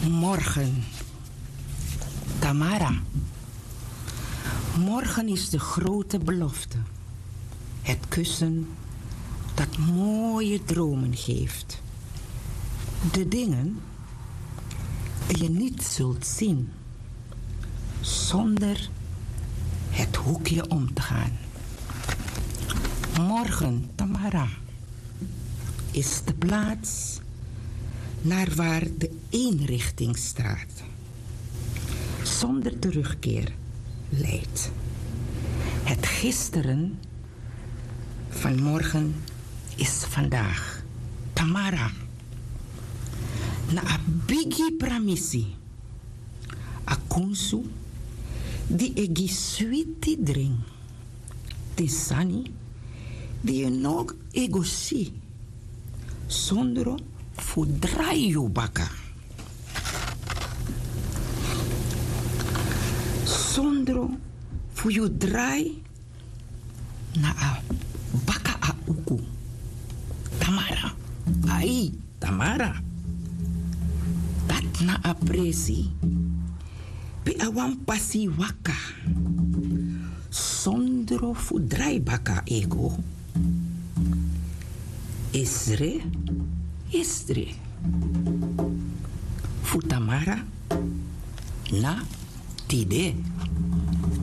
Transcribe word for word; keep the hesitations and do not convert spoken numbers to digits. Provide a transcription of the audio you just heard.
Morgen. Tamara. Morgen is de grote belofte. Het kussen dat mooie dromen geeft. De dingen die je niet zult zien zonder het hoekje om te gaan. Morgen, Tamara, is de plaats naar waar de eenrichtingsstraat zonder terugkeer leidt. Het gisteren van morgen is vandaag. Tamara, na a bigi pramisi, a kunsu di e gi switi dringi, den sani di yu no e go si, sondro fu drai yu baka. Sondro fu yu drai na a baka a uku. Tamara, ai, Tamara. Dati na a presi pe a wan pasi waka. Sondro fu drai baka e go. Esre, esre. Fu Tamara na tide.